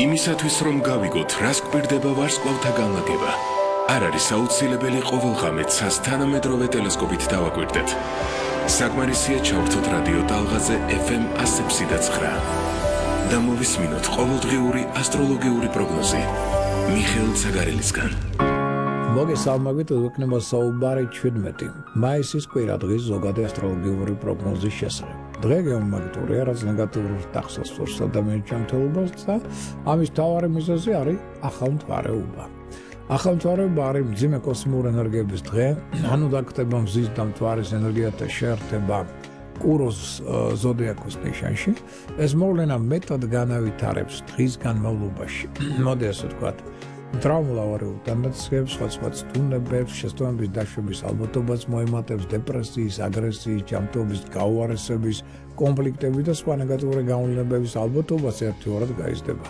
იმისათვის რომ გავიგოთ რას გვერდება ვარსკვლავთა განლაგება არ არის აუცილებელი ყოველ ღამეს თანამედროვე ტელესკოპით დავაკვირდეთ საკმარისია ჩავრთოთ რადიო ტალღაზე FM 100.9 და მოვისმინოთ ყოველდღიური ასტროლოგიური პროგნოზი მიხეილ ცაგარელისგან მოგესალმებით ვიქნება საუბარი 17 მაისის კვირადღის ზოგადი ასტროლოგიური პროგნოზის შესახებ. დღე გეომაგნიტურია, რაც ნეგატიურ ტახტს სურს ადამიანის ჯანმრთელობას და ამის მთავარი მიზეზი არის ახალმთვარეობა. ახალმთვარეობა არის მძიმე კოსმიური ენერგიების დღე, ანუ დაგხვდება მზის და მთვარის ენერგიათა შეერთება კუროს ზოდიაქოს ნიშანში. ეს მოვლენა მეტად განავითარებს დღის განმავლობაში. მოდი ასე ვთქვათ. Traumulავარიულ ტენდენციებს, სხვა სტუმრებს, შეცდომების დაშვების ალბათობას მოემატებს დეპრესიის, აგრესიის, ჯანმრთელობის გაუარესების, კონფლიქტების და სხვა ნეგატიური გამოვლენების ალბათობას ერთგვარად გაიზრდება.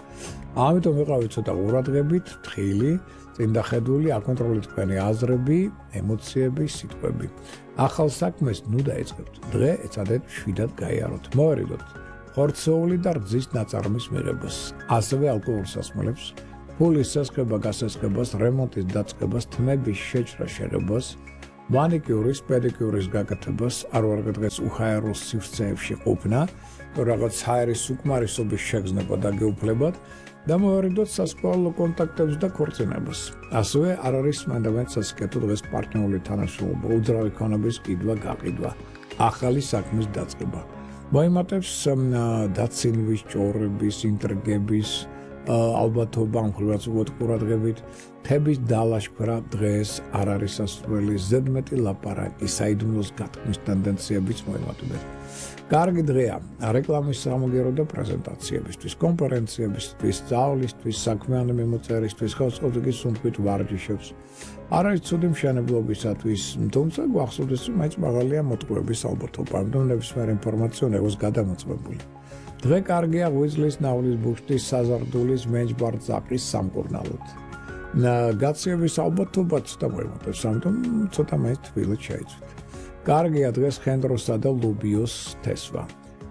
ამიტომ ვიყავით ცოტა ყურადღებით, თხილი, წინდახედული, აკონტროლეთ თქვენი აზრები, ემოციები, სიტყვები. ახალ საქმეს ნუ დაიწყებთ. დღე ეცადეთ შვიდად გაიაროთ. მოვერიდოთ ხორცეული და რძის ნაწარმის მიღებას, ასევე ალკოჰოლურ სასმელებს. ფულის სასხება გასასხებას, რემონტის დაწყებას, თმების შეჭრას შერებას, მანიკიურის, პედიკიურის გაკეთებას, არ ვარ დღეს უხაერო სივრცეებში ყოფნა, რაღაც ჰაერის უკმარისობის შეგრძნება და გეუფლებათ და მოვარიდოთ სასკოლო კონტაქტებს და ქორწინებას. ასევე არ არის მანდამენტ სასიკეთო დღეს პარტნიორული თანაშრომლობა, უძრავი ქონების კიდვა გაყიდვა, ახალი საქმის დაწყება. მოემატებს დაცინვის, ჭორების, ინტრიგების ალბათობა მხრივაც უყურადღებით თების დალაშქვრა დღეს არ არის სასურველი ზედმეტი ლაპარაკი საიდუმლოს გათქმის ტენდენციებიც მოემატებათ. კარგი დღეა რეკლამის სამოგერო და პრეზენტაციებისთვის, კონფერენციებისთვის, სწავლისთვის, საქმიანი მიმოწერისთვის, ხელშეწყობის სუნთქვით ვარჯიშებს. არ არის ცუდი მშენებლობისათვის, თუმცა გვახსოვდეს რომ მაინც მაღალია მოტყუების ალბათობა, ამიტომ ნებისმიერი ინფორმაცია უნდა იყოს გადამოწმებული. დღე კარგია ღვიძლის, ნავლის, ბუშტის, საზარდულის, მეჯბარ-ძაყის სამკურნალოდ. გაციების ალბათობა ცოტა მოემატებს, ამიტომ ცოტა მაინც თბილად შეიცვით. კარგია დღეს ხენდროსა და ლუბიოს თესვა,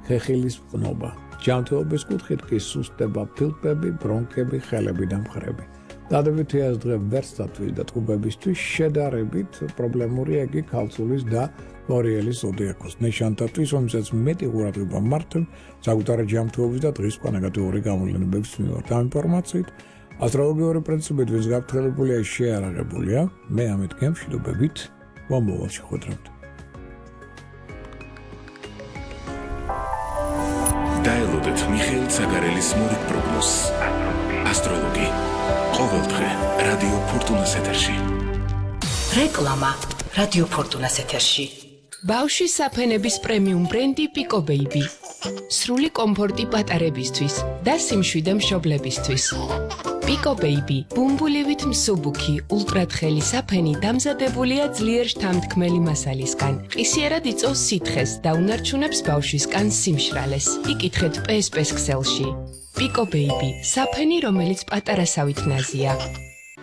ხეხილის მყნობა, ჯანმრთელობის კუთხით კი სუსტება, ფილტვები, ბრონქები, ხელები და მხრები. დადებითი ეს დღე ვერსტათვის და ტყუბებისთვის შედარებით პრობლემურია იგი ქალწულის და ორიელის ზოდიაქოს ნიშანთათვის, რომელსაც მეტი ყურადღება მართებ საკუთარი ჯანმრთელობის და დღის სხვა ნეგატიური გამოვლენების მიმართ. ამ ინფორმაციით ასტროლოგიური პრინციპით ვის გაფრთხილებულია შეარაღებულია. მე ამით გემშვიდობებით მომავალში ხვდებით. დაელოდეთ მიხეილ ცაგარელის მორიგ პროგნოზს. ასტროლოგი ყოველდღე რადიო ფორტუნას ეთერში. რეკლამა რადიო ფორტუნას ეთერში. ბავშვის საფენების პრემიუმ ბრენდი Pico Baby. სრული კომფორტი პატარებისთვის და სიმშვიდე მშობლებისთვის. Pico Baby ბუმბულივით მსუბუქი, ულტრათხელი საფენი დამზადებულია ძლიერ შთამთქმელი მასალისგან. ყისიერად იწვევს სითხეს და უნარჩუნებს ბავშვის კანს სიმშრალეს. იკითხეთ PSP-ს ქსელში. Pico Baby საფენი, რომელიც პატარასავით ნაზია.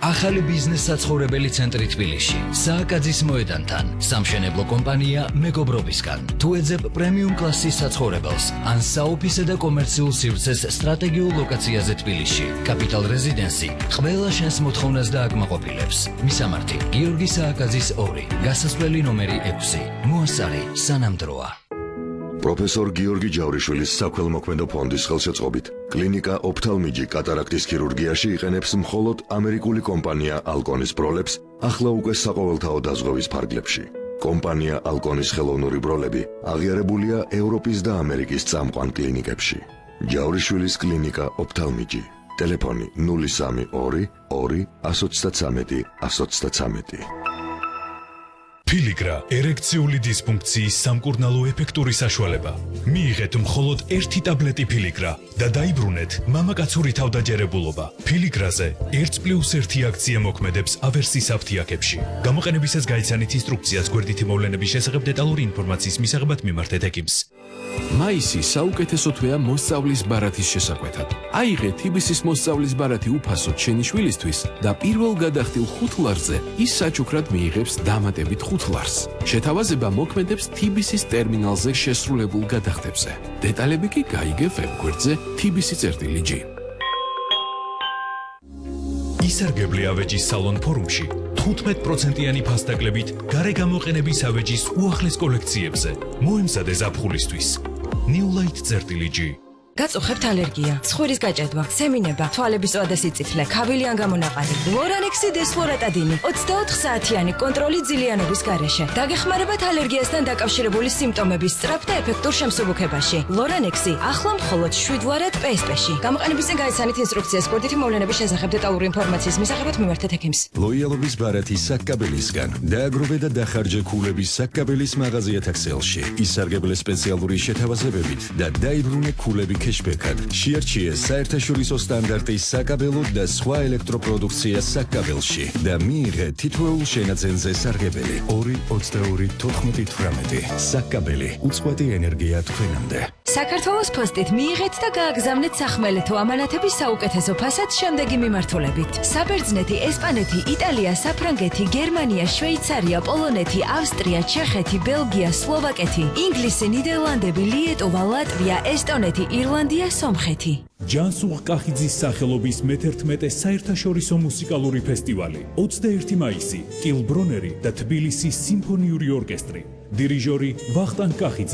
ახალი ბიზნეს საცხოვრებელი ცენტრი თბილისში, სააკაძის მოედანთან, სამშენებლო კომპანია მეგობრობისგან. თუ ეძებ პრემიუმ კლასის საცხოვრებელს, ან საოფისე და კომერციულ სივრცეს სტრატეგიულ ლოკაციაზე თბილისში, კაპიტალ რეზიდენსი ყველა შენს მოთხოვნას დააკმაყოფილებს. მისამართი: გიორგი სააკაძის 2, გასასვლელი ნომერი 6. მოასწარი სანამდროა. პროფესორ გიორგი ჯავრიშვილის საქველმოქმედო ფონდის ხელშეწყობით კლინიკა ოფთალმიჯი კატარაქტის ქირურგიაში იყენებს მხოლოდ ამერიკული კომპანია ალკონის ბროლებს, ახლა უკვე საყოველთაო დაზღვევის ფარგლებში. კომპანია ალკონის ხელოვნური ბროლები აღიარებულია ევროპის და ამერიკის წამყვან კლინიკებში. ჯავრიშვილის კლინიკა ოფთალმიჯი. ტელეფონი 032 2 133 133. Piligra ერექციული დისფუნქციის სამკურნალო ეფექტური საშუალება. მიიღეთ მხოლოდ 1 ტაბლეტი Piligra და დაიბრუნეთ მამაკაცური თავდაჯერებულობა. Piligrაზე 1+1 აქცია მოქმედებს ავერსის აფთიაქებში. გამოყენებისას გაიცანით ინსტრუქციას გვერდითი მოვლენების შესახებ დეტალური ინფორმაციის მისაღებად მიმართეთ ექიმს. მაისი საუკეთესო თვეა მოსწავლის ბარათის შესაკვეთად. აიღე TBC-ის მოსწავლის ბარათი უფასოდ შენი შვილისთვის და პირველ გადახდილ 5 ლარზე ის საჩუქრად მიიღებს დამატებით 5 ლარს. შეთავაზება მოქმედებს TBC-ის ტერმინალზე შესრულებულ გადახდებზე. დეტალები კი გაიგე ვებგვერდზე TBC-G. ისარგებლე ავეჯის სალონ ფორუმში 15%-იანი ფასდაკლებით გარე გამოყენების ავეჯის უახლეს კოლექციებზე. მოემზადე ზაფხულისთვის. New Light-G. გაწუხებთ ალერგია, ცხვირის გაჭედვა, სემინება, თვალების ზოა და სიწითლე, ქავილი ან გამონაყარი. ლორანექსი დესფლორატადინი 24 საათიანი კონტროლი ძილიანობის გარეშე. დაგეხმარებათ ალერგიასთან დაკავშირებული სიმპტომების სწრაფ და ეფექტურ შემსუბუქებაში. ლორანექსი ახლა მხოლოდ 7 ვარად PSP-ში. გამოყენების წინ გაიცანით ინსტრუქციას სპორტითი მოვლენების შესახებ დეტალური ინფორმაციის მისაღებად მიმართეთ ექიმს. ლოიალობის ბარათი საკკაბელისგან. დააგროვე და დახარჯე ქულების საკკაბელის მაღაზია თაქსელში. ისარგებლე სპეციალური შეთავაზებებით და დაიბრუნე ქულები cashback-ად. შეარჩიე საერთაშორისო სტანდარტის საკაბელო და სხვა ელექტროპროდუქცია საკაბელში და მიიღე თითოეულ შენაძენზე სარგებელი 2-22-14-18. საკაბელი უწყვეტი ენერგია თქვენამდე. საქართველოს პოსტით მიიღეთ და გააგზავნეთ სახმელეთო ამანათების საუკეთესო ფასად შემდეგი მიმართულებით. საბერძნეთი, ესპანეთი, იტალია, საფრანგეთი, გერმანია, შვეიცარია, პოლონეთი, ავსტრია, ჩეხეთი, ბელგია, სლოვაკეთი, ინგლისი, ნიდერლანდები, ლიეტუვა, ლატვია, ესტონეთი, ირლანდია, სომხეთი. ჯანსუღ კახიძის სახელობის მე-11 საერთაშორისო მუსიკალური ფესტივალი 21 მაისი, კილბრონერი და თბილისის სიმფონიური ორკესტრი. დირიჟორი ვახტანგ კახიძე.